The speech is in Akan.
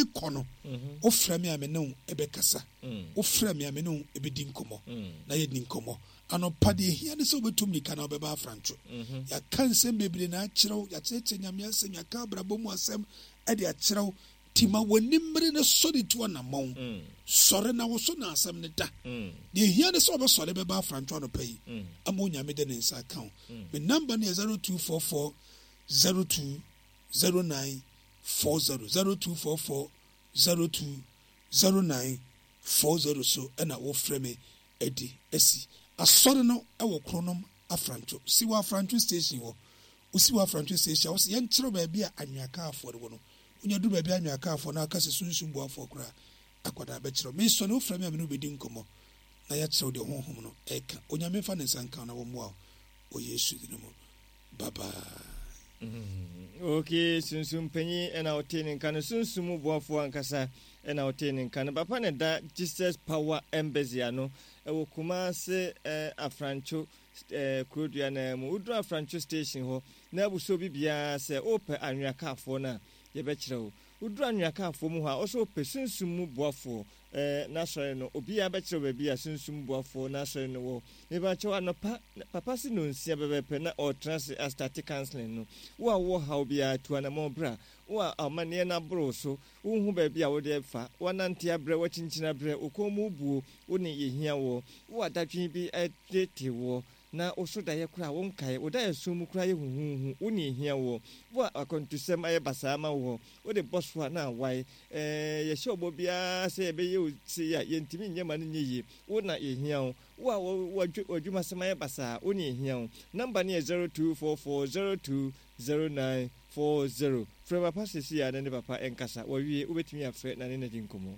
Meekɔ no, wofrɛ me a me ne wo bɛkasa. Wofrɛ me a me ne wo bɛdi nkɔmmɔ. Na yɛdi nkɔmmɔ. Anɔpa deɛ ɛhia ne sɛ wobɛtu mmirika na wobɛba afrantwo. Yɛaka nsɛm bebree na akyerɛ wo, yɛakyerɛkyerɛ Nyame asɛm, yɛaka abrabɔ mu asɛm de akyerɛ wo. Nti ma w'ani mmere na sɔre tu anammɔn. Sɔre na wo so na asɛm no da. Deɛ ɛhia ne sɛ wobɛsɔre bɛba afrantwo anɔpa yi ama Onyame de ne nsa aka wo. Me number no yɛ 0244 02 09 40, 0244 02 09 40 so na wofrɛ me adi asi. Asɔre no wɔ Kronom Afrantwo. Si wɔ Afrantwo station hɔ. Wosi wɔ Afrantwo station a, wose yɛnkyerɛ wo baabi a Anwea Kaafoɔ no wɔ no. Wonya duru baabi a Anwea Kaafoɔ no aka sɛ Sunsum Boafoɔ koraa akwadaa bɛkyerɛ wo. Mesɔre, wofrɛ me a me ne wo bɛdi nkɔmmɔ na yɛakyerɛ wo deɛ Honhom no reka. Onyame mfa ne nsa nka wo na wɔmmoa wo wɔ Yesu din mu. Bye bye. Ok, Sunsum panyin na wotee ne nka no, Sunsum mu boafoɔ ankasa na wotee ne nka no. Papa na ɛda Jesus Power Embassy ano wɔ Kumase eh, Afrancho eh, kurodua no mu. Woduru Afrancho station hɔ na abusuo bi biara sɛ wopɛ anwea kaafoɔ no a, yɛbɛkyerɛ wo. Woduru anwea kaafoɔ mu hɔ a, wo sɛ wopɛ Sunsum mu boafoɔ Eh, n'asɔre no, obiara bɛkyerɛ baabi a Sunsum Boafoɔ n'asɔre no wɔ. Mepakyɛw, anɔpa, papa se nonsia pɛpɛɛpɛ na ɔretena ase astate counseling no. Wo a wowɔ haw biara, tu anamɔn bra. Wo a amanneɛ no aboro wo so, wonhu baabi a wode refa, woanante abrɛ, woakyinkyini abrɛ, wo kɔn mu rebuo, wo ne yɛhia woɔ. Wo a dadwen bi reteetee woɔ, na wo so daeɛ koraa wonkae, wo daeɛso mu koraa yɛ huhuuhu, wo ne yɛhia woɔ. Wo a akwantusɛm ayɛ basaa ama woɔ, wode bɔ so a na awae, Ɛɛ, yɛhyɛ ɔbɔ biara sɛ yɛbɛyɛ wo sei a, yɛntumi nyɛ ma no nyɛ yie. Wo na yɛhia wo. Wo a w'adwumasɛm ayɛ basaa, wo na yɛhia wo. Nɔmba no yɛ 0244020940. Frɛ papa seesei ara na ne papa nkasa. Wawie, wobɛtumi afrɛ na ne no adi nkɔmmɔ.